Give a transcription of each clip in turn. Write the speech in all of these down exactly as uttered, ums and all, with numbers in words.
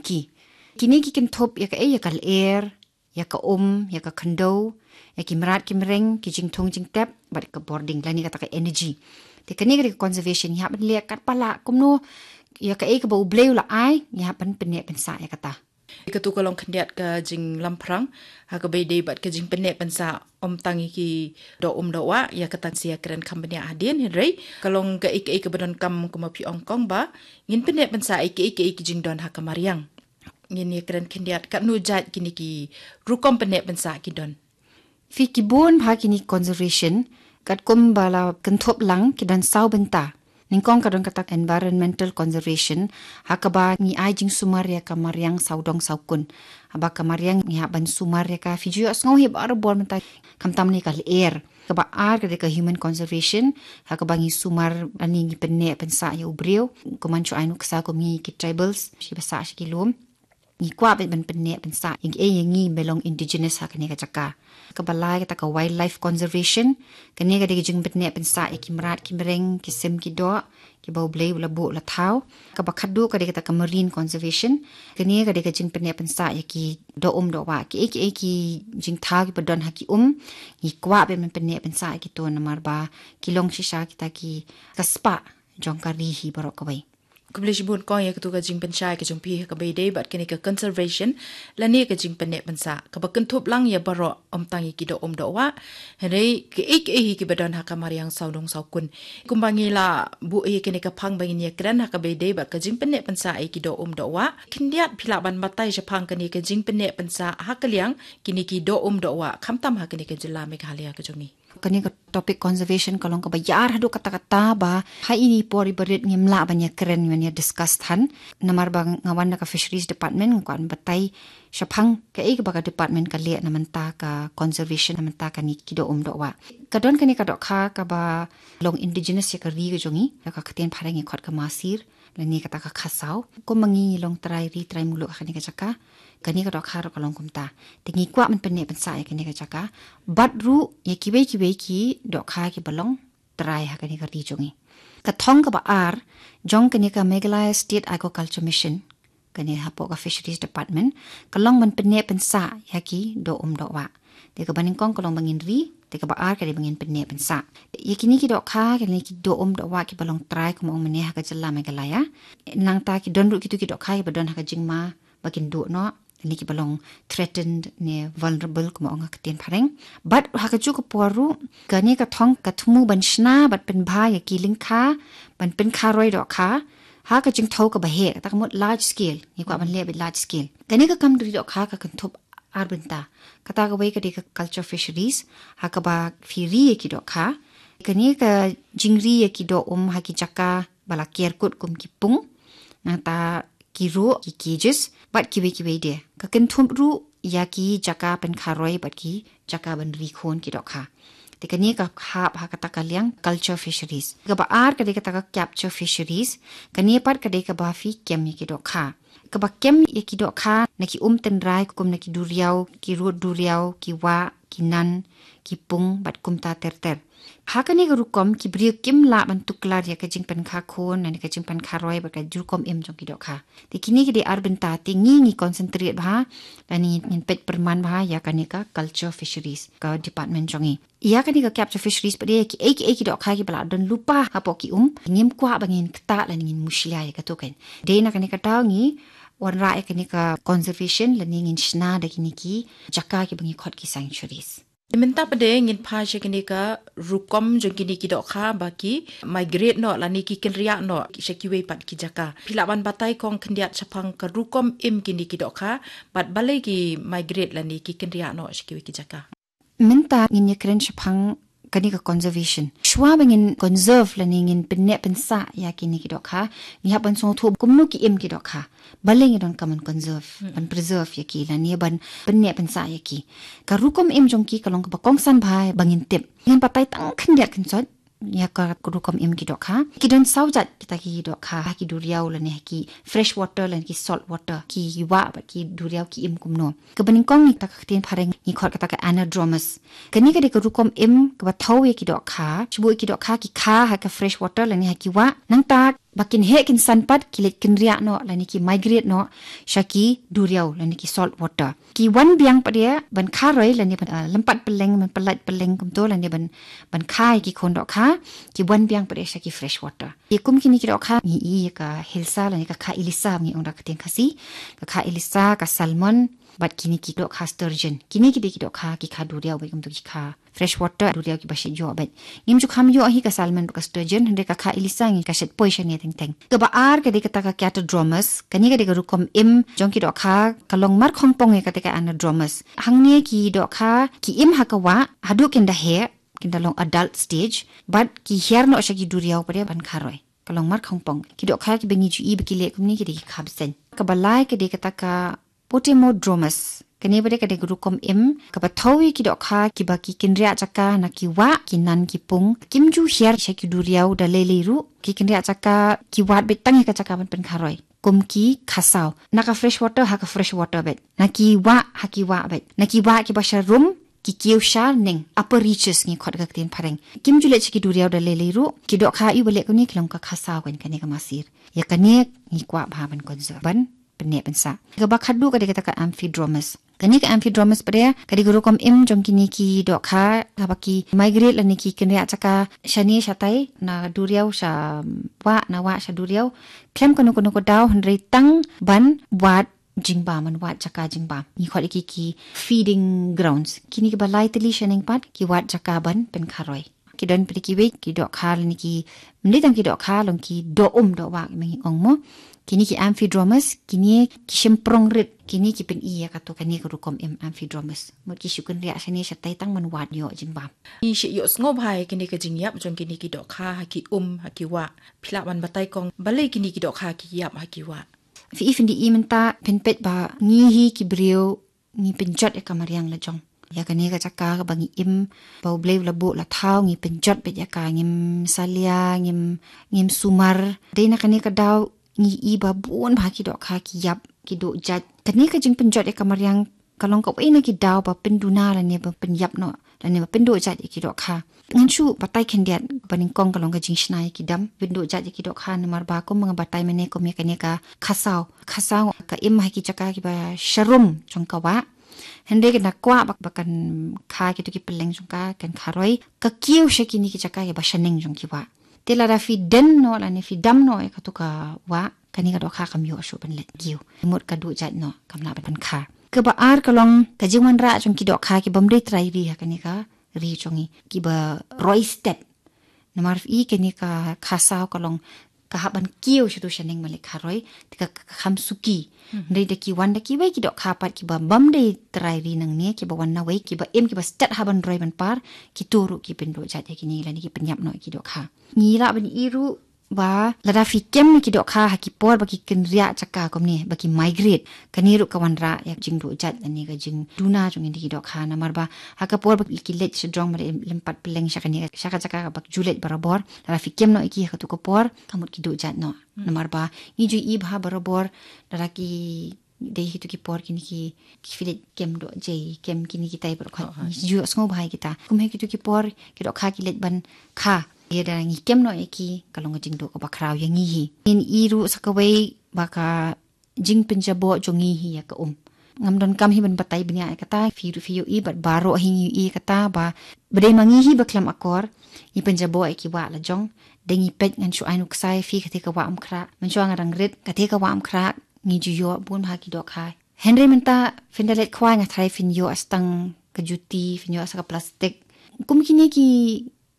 ki. Kine ki kynthup ïa kaei, ïa ka lyer, ïa ka um, ïa ka khyndew, ïa ki mrad ki mreng, ki jingthung jingtep, bad ka bording, lane kata ka energy. Te kane ka dei ka conservation, ngi hap ban leh katba lah kumno, ïa kaei kaba U Blei u la ai, ngi hap ban pynneh pynsah ïa kata. Katu ka long khyndiat ka jinglamphrang ha kaba ïadei bad ka jingpynneh pynsah, ym tang ïa ki doh um doh wah, ïa kata ngin sa ïakren kham bniah hadien, hynrei ka long kaei kaei kaba donkam, kum ma phi ong kong, ba ngin pynneh pynsah ïa kaei kaei ki jingdon ha ka mariang. Ngin ïakren khyndiat katno jait kine ki rukom pynneh pynsah ki don. Phi, ki bun bha kine conservation, katkum ba la kynthup lang, ki don saw bynta. Nyngkong ka don kata environmental conservation, ha kaba ngi ai jingsumar ïa ka mariang sawdong sawkun. Haba ka mariang ngi hap ban sumar ïa ka, phi ju ïohsngew hi barabor mynta, khamtam ne ka lyer. Kaba ar ka dei ka human conservation, ha kaba ngi sumar lane ngi pynneh pynsah ïa u briew, kumno shu ai nuksa kum ngi ki tribals, shi ba sah shi ki lum. Ngi kwah ban pynneh pynsah ïa ngi, ïa ngi ba long indigenous ha kane ka jaka. Kaba lai kata ka wildlife conservation, kane ka dei ka jingpynneh pynsah ïa ki mrad ki mreng, ki sim ki doh, kiba U Blei u la buh la thaw. Kaba khatduh ka dei kata ka marine conservation, kane ka dei ka jingpynneh pynsah ïa ki doh um doh wah, kiei kiei ki jingthaw kiba don ha ki um, ngi kwah ban pynneh pynsah ïa kito namar ba ki long shisha kita ki, ka spah jong ka ri hi baroh kawei. Khublei shibun kong ïa katu ka jingpynshai ka jong phi ha kaba ïadei bad kane ka conservation lane ka jingpynneh pynsah, kaba kynthup lang ïa baroh, ym tang ïa ki doh um doh wah, hynrei kaei kaei hi kiba don ha ka mariang sawdong sawkun. Kumba ngi la buh ïa kane ka phang ba ngin ïakren ha kaba ïadei bad ka jingpynneh pynsah ïa ki doh um doh wah, khyndiat phi lah ban batai shaphang kane ka jingpynneh pynsah ha ka liang kine ki doh um doh wah, khamtam ha kane ka jylla Meghalaya ka jong ngi. Kane ka topic conservation ka long kaba ïar haduh katta katta ba ha ine i por iba rit ngim lah ban ïakren, ban ïa discuss than. Namar ba nga wan na ka fisheries department, nga kwah ban batai shaphang kaei kaba ka department ka leh na bynta ka conservation, na bynta kane ki doh um doh wah. Ka don kane ka dohkha kaba long indigenous ïa ka ri ka jong ngi, ïa ka ktien phareng ngi khot ka Masir, lane kata ka Khasaw. Kum ma ngi long trai ri trai muluk ha kane ka jaka, kane ka dohkha ruh ka long kumta. Te ngi kwah ban pynneh pynsah ïa kane ka jaka bad ruh ïa kiwei kiwei ki dohkha kiba long trai ha kane ka ri jong ngi. Ka thong kaba ar jong kane ka Meghalaya State Aquaculture Mission, kane hapoh ka fisheries department, ka long ban pynneh pynsah ïa ki doh um doh wah. Te kaba nyngkong ka long ba ngin ri, te kaba ar ka dei ba ngin pynneh pynsah. Ïa kine ki dohkha, kine ki doh um doh wah kiba long trai, kum ma ong mynne, ha ka jylla Meghalaya. Nangta ki don ruh kitu ki dohkha kiba don ha ka jingma ba kin duh noh, ne kiba long threatened ne vulnerable, kum ma ong ha ka ktien phareng. Bad ha kajuh ka por ruh, kane ka thong ka thmu ban shna bad pynbha ïa ki lyngkha ban pynkha roi dohkha ha ka jingthew kaba heh, kata ka mut large scale. Ngi kwah ban leh bad large scale. Kane ka kam ri dohkha ka kynthup ar bynta. Kata kawei ka dei ka culture fisheries, ha kaba phi ri ïa ki dohkha. Kane ka jingri ïa ki doh um ha ki jaka ba la ker kut kum ki pung, nangta ki ruh, ki cages, bad kiwei kiwei de. Ka kynthup ruh ïa ki jaka pynkha roi bad ki jaka ban ri khun ki dohkha. Te kane ka hap ha kata ka liang culture fisheries. Kaba ar ka dei kata ka capture fisheries, kane pat ka dei kaba phi kem ïa ki dohkha. Kaba kem ïa ki dohkha na ki um tynrai kum na ki duriaw, ki rud duriaw, ki wah, ki nan, ki pung, bad kumta ter ter. Ha kane ka rukom ki briew kim lah ban tuklar ïa ka jingpynkha khun, lane ka jingpynkha roi bad ka rukom im jong ki dohkha. Te kine ki dei ar bynta, te ngi ngi concentrate bha, lane ngin peit pyrman bha ïa kane ka culture fisheries ka department jong ngi. Ïa kane ka capture fisheries pat de, kiei kiei ki dohkha kiba la don lypa hapoh ki um, ngim kwah ba ngin ktah lane ngin mushlia ïa kato kein. Dei na kane ka daw ngi wanrah ïa kane ka conservation lane ngin shna da kine ki jaka kiba ngi khot ki sanctuaries. Mynta pat de ngin phai sha kine ka rukom jong kine ki dohkha ba ki migrate noh lane ki kynriah noh sha kiwei pat ki jaka. Phi lah ban batai kong khyndiat shaphang ka rukom im kine ki dohkha bad balei ki migrate lane ki kynriah noh sha kiwei ki jaka. Mynta ngin ïakren shaphang kane ka conservation. Shuwa ba ngin conserve lane ngin pynneh pynsah ïa kine ki dohkha, ngi hap ban sngewthuh kumno ki im ki dohkha. Balei ngi donkam ban conserve, ban preserve ïa ki lane ban pynneh pynsah ïa ki. Ka rukom im jong ki ka long kaba kongsan bha ba ngin tip. Ngin batai tang khyndiat kynsoit ïa ka rukom im ki dohkha. Ki don saw jait kita ki dohkha, ha ki duriaw lane ha ki fresh water lane ki salt water, ki wah bad ki duriaw ki im kumno. Kaba nyngkong ngi, kata ka ktien phareng ngi khot kata ka anadromous. Kane ka dei ka rukom im kaba thew ïa ki dohkha, shibun ki dohkha ki kha ha ka fresh water lane ha ki wah. Nangta Ba kin heh kin san pat ki leit kynriah noh lane ki migrate noh sha ki duriaw lane ki salt water. Ki wan biang pat de ban kha roi lane ban, ah, lympat pylleng, ban pyllait pylleng kumto lane ban, ban kha ïa ki khun dohkha, ki wan biang pat de sha ki fresh water. Ïa kum kine ki dohkha ngi i ïa ka hilsa lane ka kha ilisa ngi ong da ka ktien Khasi, ka kha ilisa, ka salmon, bad kine ki dohkha sturgeon. Kine ki dei ki dohkha ki kha duriaw bad kumto ki kha fresh water, duriaw kiba shet ïoh bad. Ngim ju kham ïoh hi ka salmon bad ka sturgeon, hynrei ka kha ilisa ngi ka shet poi shane teng teng. Kaba ar ka dei kata ka catadromus, kane ka dei ka rukom im jong ki dohkha, ka long markhongpong ïa kata ka anadromus. Hangne ki dohkha ki im ha ka wah, haduh kin da heh, kin da long adult stage, bad ki hiar noh sha ki duriaw pat de ban kha roi. Ka long markhongpong. Ki dohkha kiba ngi ju i ba ki leh kumne ki dei ki kha bseiñ. Kaba lai ka dei kata ka Potemodromus. Kane pat de ka dei ka rukom im kaba thew ïa ki dohkha kiba ki kynriah jaka na ki wah, ki nan ki pung. Kim ju hiar sha ki duriaw da lei lei ruh. Ki kynriah jaka, ki wad beit tang ïa ka jaka ban pynkha roi. Kum ki khasaw. Na ka fresh water ha ka fresh water beit. Na ki wah ha ki wah beit. Na ki wah kiba sha rum, ki kiew sha neng, upper reaches ngi khot ka ktien phareng. Kim ju leit sha ki duriaw da lei lei ruh. Ki dohkha ïa ba leh kumne ki long ka khasaw kan kane ka masir. Ïa kane ngi kwah bha ban conserve ban pynneh pynsah. Kaba khatduh ka dei kata ka amphidromus. Kane ka amphidromus pat de ka dei ka rukom im jong kine ki dohkha kaba ki migrate lane ki kynriah jaka shane shatai, na duriaw sha wah, na wah sha duriaw. Khlem kano kano ka daw hynrei tang ban wad jingbam, ban wad jaka jingbam. Ngi khot ïa ki ki feeding grounds. Kine kiba lai tylli shaneng pat ki wad jaka ban pynkha roi. Ki don pat de kiwei ki dohkha lane ki, ym dei tang ki dohkha, long ki doh um doh wah kiba ngi ong mo. Kine ki amphidromus, kine ki shymprong rit, kine ki pyni ïa kato kane ka rukom im amphidromus. Mut ki shu kynriah shane shatai tang ban wad ïoh jingbam. Ngi shu ïohsngew bha ïa kine ka jingïap jong kine ki dohkha ha ki um, ha ki wah. Phi lah ban batai kong balei kine ki dohkha ki ïap ha ki wah? Phi i, phin da i mynta, phin peit ba ngi hi ki briew ngi pynjot ïa ka mariang la jong. Ïa kane ka jaka kaba ngi im, ba U Blei u la buh la thaw, ngi pynjot beit ïa ka, ngim salia, ngim, ngim sumar. Dei na kane ka daw ngi i ba bun bha ki dohkha ki ïap, ki duh jait. Kane ka jingpynjot ïa ka mariang ka long kawei na ki daw ba pynduna lane ba pynïap noh lane ba pynduh jait ïa ki dohkha. Ngan shu batai khyndiat, ba nyngkong ka long ka jingshna ïa ki dam, pynduh jait ïa ki dohkha, namar ba kum ba nga batai mynne kum ïa kane ka khasaw. Khasaw ka im ha ki jaka kiba sharum jong ka wah. Hynrei ka na kwah ba, ba kan kha kito ki pylleng jong ka, kan kha roi. Ka kiew sha kine ki jaka kiba shaneng jong ki wah. Te lada phi den noh lane phi dam noh ïa kato ka wah, kane ka dohkha kam ïoh shuh ban leit kiew. Mut ka duh jait noh, kam lah ban pynkha. Kaba ar ka long ka jingwanrah jong ki dohkha kibym dei trai ri ha kane ka ri jong ngi, kiba roi stet. Namar phi i, kane ka khasaw ka long ka hap ban kiew shatu shaneng ban leit kha roi, te ka, ka kham suki. Hynrei da ki wan da kiwei ki dohkha pat kiba bym dei trai ri nangne, kiba wan nawei, kiba im, kiba stet ha ban roi ban par, kito ruh ki pynduh jait ïa kine lane ki pynïap noh ïa ki dohkha. Ngi lah ban i ruh ba lada phi kem ïa ki dohkha ha ki por ba ki kynriah jaka kumne, ba ki migrate, kane ruh ka wanrah ïa ka jingduh jait lane ka jingduna jong ngi da ki dohkha, namar ba ha ka por ba ki leit shajrong ba leit lympat pylleng sha kane, sha ka jaka ba ki ju leit barabor, lada phi kem noh ïa ki ha kato ka por, ka mut ki duh jait noh. Namar ba ngi ju i bha barabor, lada ki dei ha kito ki por kine ki, ki phi leit kem dohjai, kem kine kitai baroh, ngi ju ïohsngew bha ïa kita. Kum ha kito ki por ki dohkha ki leit ban kha, ïa da ngi kem noh ïa ki, ka long ka jingduh kaba khraw ïa ngi hi. Ngin i ruh sa kawei ba ka jingpynjaboh jong ngi hi ïa ka um. Ngam donkam hi ban batai bniah ïa kata, phi ruh phi ïohi bad baroh hi ngi ïohi ïa kata ba, ba dei ma ngi hi ba khlem akor ngi pynjaboh ïa ki wah la jong. Dei ngi peit, ngan shu ai nuksa ïa phi kata ka wah Umkhrah. Mynshuwa nga dang rit, kata ka wah Umkhrah ngi ju ïoh bun bha ki dohkha. Hynrei mynta phin da leit khwai, nga tharai phin ïoh sa tang ka juti, phin ïoh sa ka plastik. Kum kine ki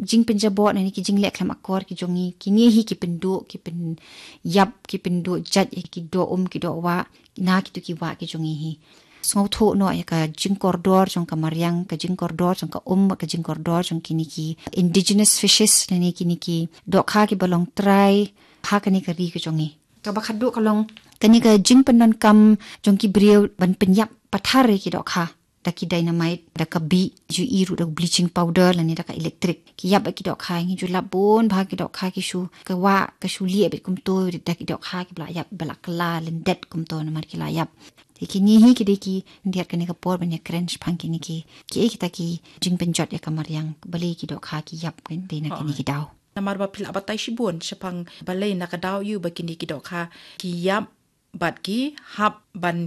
jingpynjaboh lane ki jingleh khlem akor ki jong ngi, kine hi ki pynduh, ki pynïap, ki pynduh jait ïa ki doh um, ki doh wah, na kito ki wah ki jong ngi hi. Sngewthuh noh ïa ka jingkordor jong ka mariang, ka jingkordor jong ka um, ka jingkordor jong kine ki indigenous fishes lane kine ki dohkha kiba long trai ha kane ka ri ka jong ngi. Kaba khatduh ka long kane ka jingpyndonkam jong ki briew ban pynïap pathar ïa ki dohkha da ki dynamite, da ka bih, ju i ruh da bleaching powder lane da ka electric. Ki ïap ïa ki dohkha, ngi ju lap bun bha ki dohkha ki shu, ka wah ka shu lieh beit kumto da ki dohkha kiba la ïap, ba la kylla lyndet kumto namar ki la ïap. Te kine hi ki dei ki, khyndiat kane ka por ban ïakren shaphang kine ki, kiei kita ki jingpynjot ïa ka mariang, balei ki dohkha ki ïap, kan, dei na kine ki daw. Namar ba phi lah batai shibun shaphang balei na ka daw ïa ba kine ki dohkha ki ïap bad ki hap ban